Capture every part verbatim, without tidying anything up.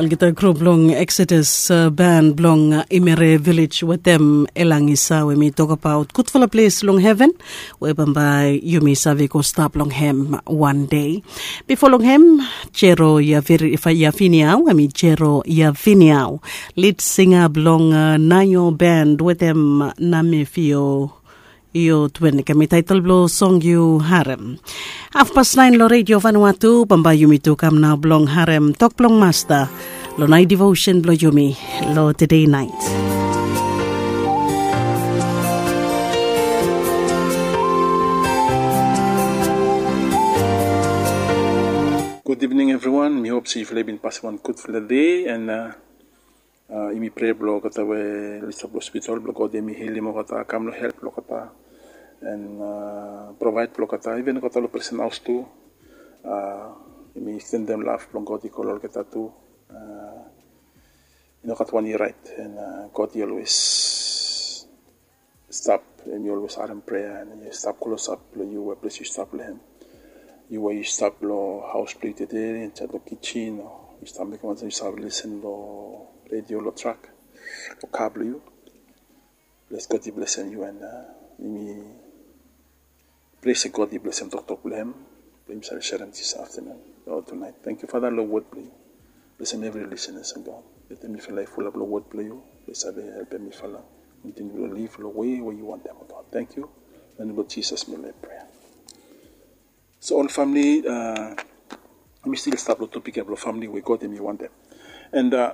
Olgeta grup blong Exodus, uh, band blong, uh, Imere Village wetem Elangisa, we mi tokbaot gudfala ples long heven we bambae yumi save go stap long hem wan dei. Bifo long hem, Jero Yavir-, Ifa-, Yaviniau, we mi Jero Yaviniau, lead singer blong, uh, Nayo Band wetem Namefio Io Twen, kemi taitol blong song yu harem. Hafpas naen long Redio Vanuatu, bambae yumi tu kam nao blong harem tok blong Masta long naet devotion blong yumi long tede naet. Gud ivning evriwan, mi hop se yufala i bin pasem wan gudfala dei, and, uh, uh, yumi prea blong olgeta we oli stap long hospital, blong God hemi helim olgeta, kam long help blong olgeta, and, uh, provaed blong olgeta, iven olgeta long presen haos tu. Uh, yumi stendem lav blong God i go long olgeta tu. Uh, i no gat wan i raet, and, uh, God i olwes stap, hemi olwes harem prea, and hemi stap klosap long yu, we ples yu stap long hem. Yu we yu stap long haos blong yu tede, insaed long kijen, o yu stap mekem wan, yu stap lesen long redio long trak, long ka blong yu. Ples God i blesem yu, and, uh, yumi prea se God i blesem toktok blong hem, blong yumi save serem dis aftenun o tunaet. Tangkiu Fada long wod blong yu. Blesem evri lisenas, o God. Letem mifala i fulap long wod blong yu, blong save helpem mifala kontiniu blong liv long we we yu wantem, o God. Tangkiu. Long nem blong Jisas mi laik prea. So ol famili, uh, mi stil stap long topik ya blong famili we God hemi wantem. And, uh,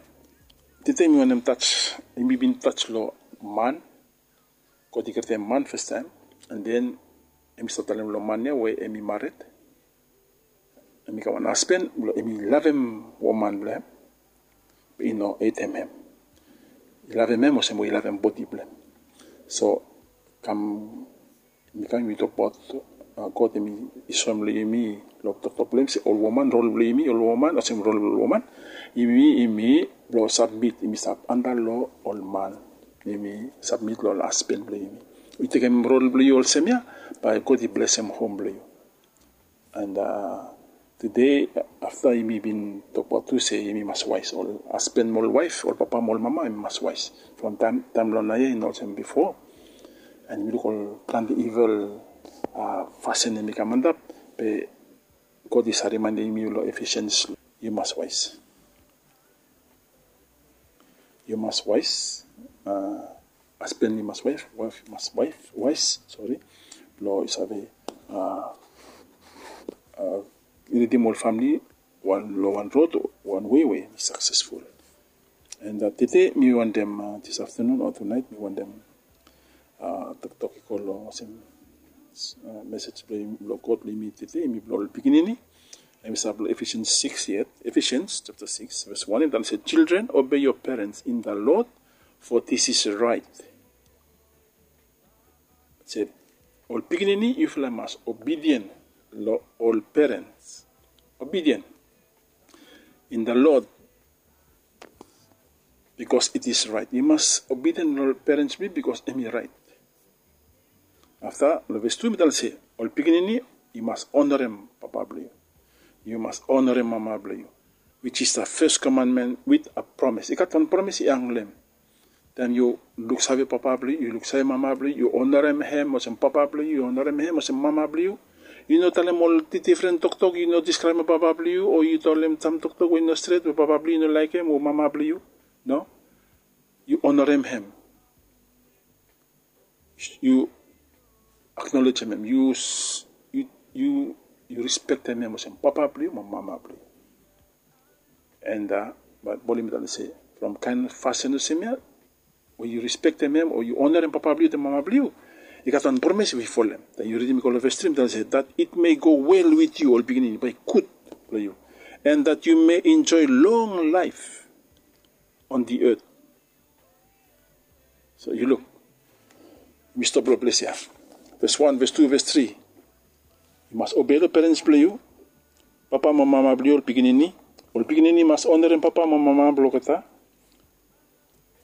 tede mi wantem tas, yumi bin tas long man, God i krietem man fastaem, and then hemi stap talem long man ya we hemi mared, hemi gat wan hasben, blong hemi lavem woman blong hem, be i no hetem hem. I lavem hem olsem we i lavem bodi blong hem. So kam, mi kam, mi tokbaot, uh, God hemi soem long yumi long toktok blong hem se ol woman, rol blong yumi ol woman, olsem rol blong ol woman, yumi, yumi blong sabmit, yumi stap anda long ol man, yumi sabmit long ol hasben blong yumi. Yu tekem rol blong yu olsem ya, bae God i blesem hom blong yu. And, uh, tede, afta yumi bin tokbaot tu se yumi mas waes, ol hasben mo ol waef, ol papa mo ol mama, yumi mas waes. From taem, taem long naoia i no olsem bifo. And yumi luk ol plante ivil, uh, fasin hemi kam antap, be God i save rimaendem yumi long Ephesians, yu mas waes. Yu mas waes, uh, hasben i mas waes, waef i mas waes, waes, sori, blong i save, uh, uh, lidim ol famili wan long wan rod, wan wei we i saksesful. And, uh, tede mi wantem, uh, dis aftenun o tunaet mi wantem, uh, toktok i go long olsem, uh, mesej blong God blong yumi tede, yumi blong ol pikinini. Hemi stap long Ephesians six yet, Ephesians chapter six, verse one, and it says, "Children, obey your parents in the Lord, for this is right." Se, ol pikinini, yufala mas obedient long ol parents. Obedient in the Lord, because it is right. Yu mas obedient long ol parents blong yu, because hemi raet. Afta, long ves tu, mi talem se, ol pikinini, yu mas onarem papa blong yu. Yu mas onarem mama blong yu, which is the first commandment with a promise. I gat wan promis i hang long hem. Taem yu luksave papa blong yu, yu luksave mama blong yu, yu onarem hem olsem papa blong yu, yu onarem hem olsem mama blong yu. Yu no talem ol di-, difren toktok, yu no diskraebem papa blong yu, o yu talem sam toktok we i no stret, we papa blong yu i no laekem, o mama blong yu. No. Yu onarem hem. Yu aknolejem hem, yu s-, yu, yu, yu rispektem hem olsem papa blong yu mo mama blong yu. And, uh, Baebol i talem se, from kaen fasin olsem ya, we yu rispektem hem o yu onarem papa blong yu wetem mama blong yu, i gat wan promis we i folem. Taem yu ridim i go long ves tri, i talem se, "That it may go well with you," ol pikinini, bae i gud blong yu, "and that you may enjoy long life on the earth." So yu luk, mi stop long ples ya. Ves wan, ves tu, ves tri. Yu mas obei long perens blong yu, papa mo mama blong yu, ol pikinini. Ol pikinini mas onarem papa mo mama blong olgeta.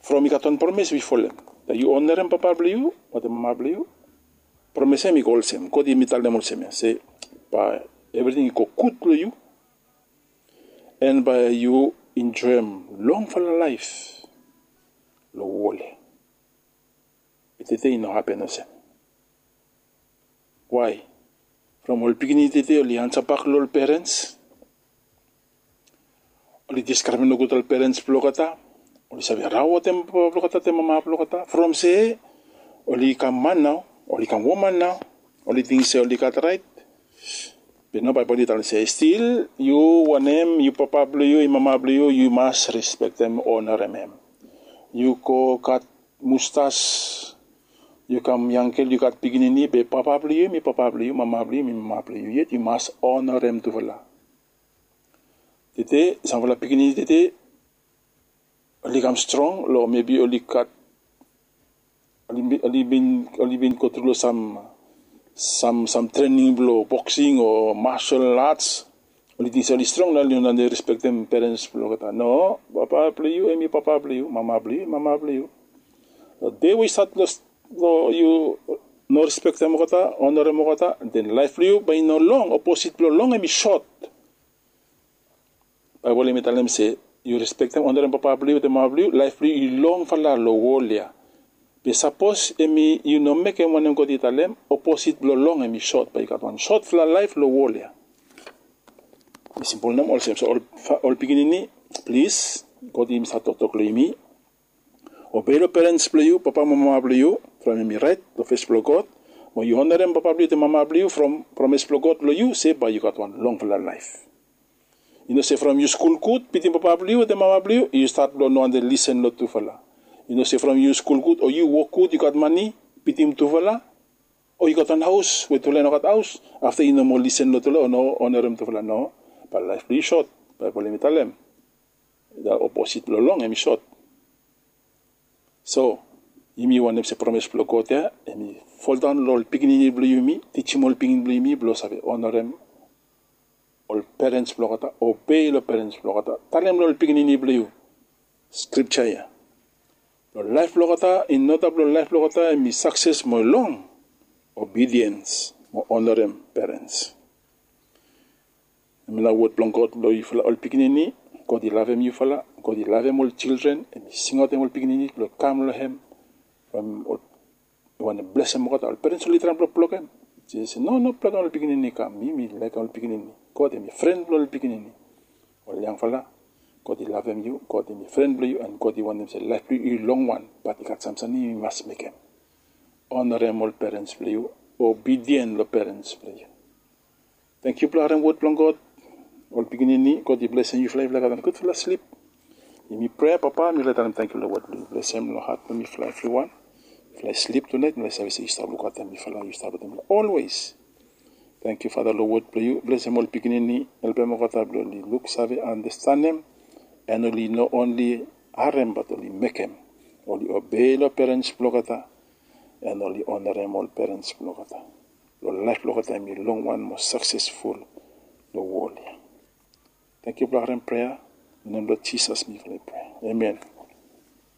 From i gat wan promes we i folem. Taem yu onarem papa blong yu wetem mama blong yu, promes ya hemi go olsem, God hemi talem olsem ya se, bae evriting i go gud long yu. And bae yu enjoem longfala laef long wol ya. Be tede i no hapen olsem. Wae? From ol pikinini tede oli ansabak long ol perens. Oli diskraiv nogud ol perens blong olgeta. Oli save raotem papa blong olgeta, te mama blong olgeta. From se oli kam man nao, oli kam woman nao, oli ting se oli gat raet. Be nao Baebol i talem se stil yu wanem, yu papa blong yu, yu mama blong yu, yu mas respektem, onarem hem. Yu go gat mustas, yu kam yangel, yu gat pikinini, be papa blong yu hem i papa blong yu, mama blong yu hem i mama blong yu, yet yu mas onarem tufala. Tede samfala pikinini tede oli kam strong long mebi oli gat, oli bin, oli bin, oli bin gotru long sam, sam, sam trening blong boksing o martial arts. Oli ting se oli strong, nao oli no respektem perens blong olgeta. No, papa blong yu hem i papa blong yu, mama blong yu hem i mama blong yu. Long dei we yu stat long, long yu no respektem olgeta, onarem olgeta, den laef blong yu bae i no long, oposit blong long hem i sot. Baebol hem i talem se yu respektem, onarem papa blong yu wetem mama blong yu, laef blong yu i longfala long wol ya. Be sapos hem i, yu no mekem wanem God i talem, oposit blong long hem i sot, bae yu gat wan sotfala laef long wol ya. Simpol nao olsem. So ol, ol pikinini, plis, God i save toktok long yumi. Obei long perens blong yu, papa mo mama blong yu, from hem i raet long fes blong God. Mo yu onarem papa blong yu wetem mama blong yu from promes blong God long yu, se bae yu gat wan longfala laef. Yu no se from yu skul gud, bitim papa blong yu wetem mama blong yu, yu stat blong no wante lisen long tufala. Yu no se from yu skul gud o yu wok gud, yu gat mane, bitim tufala, o yu gat wan haos we tufala i no gat haos, afta yu no moa lisen long tufala o no onarem tufala. No, bae laef blong yu sot. Baebol hem i talem oposit blong long hem i sot. So yumi wantem se promes blong God ya hem i foldaon long ol pikinini blong yumi, tijim ol pikinini blong yumi blong save onarem ol perens blong olgeta, obei long perens blong olgeta. Talem long ol pikinini blong yu skripja ya. Long laef blong olgeta, in oda blong laef blong olgeta hem i sakses mo long obidiens mo onarem perens. Hemia nao wod blong God long yufala ol pikinini. God i lavem yufala. God i lavem ol jildren. Hem i singaotem ol pikinini blong kam long hem. From ol, i wantem blesem olgeta. Ol perens oli traem blong blokem. Jisas i se, no, no blokem ol pikinini kam. Mi, mi laekem ol pikinini. God hem i fren blong ol pikinini. Ol yangfala, God i lavem yu, God hem i fren blong yu, and God i wantem se laef blong yu i longwan, bat i gat sam samting yumi mas mekem. Onarem ol perens blong yu, obidien long perens blong yu. Tangkiu blong harem wod blong God. Ol pikinini, God i blesem yufala, yufala gat wan gudfala slip. Yumi prea, Papa, mifala i talem tangkiu long wod blong yu. Blesem long hat blong mifala evriwan. Mifala i slip tunaet, mifala i save se yu stap lukautem mifala, yu stap wetem mifala olwes. Tangkiu, Fada, long wod blong yu. Blesem ol pikinini, helpem olgeta blong oli luksave, andastanem, and oli no onli harem, bat oli mekem. Oli obei long perens blong olgeta, and oli onarem ol perens blong olgeta. Long laef blong olgeta hem i longwan mo saksesful long wol ya. Tangkiu blong harem prea. Long nem blong Jisas mifala i prea. Amen.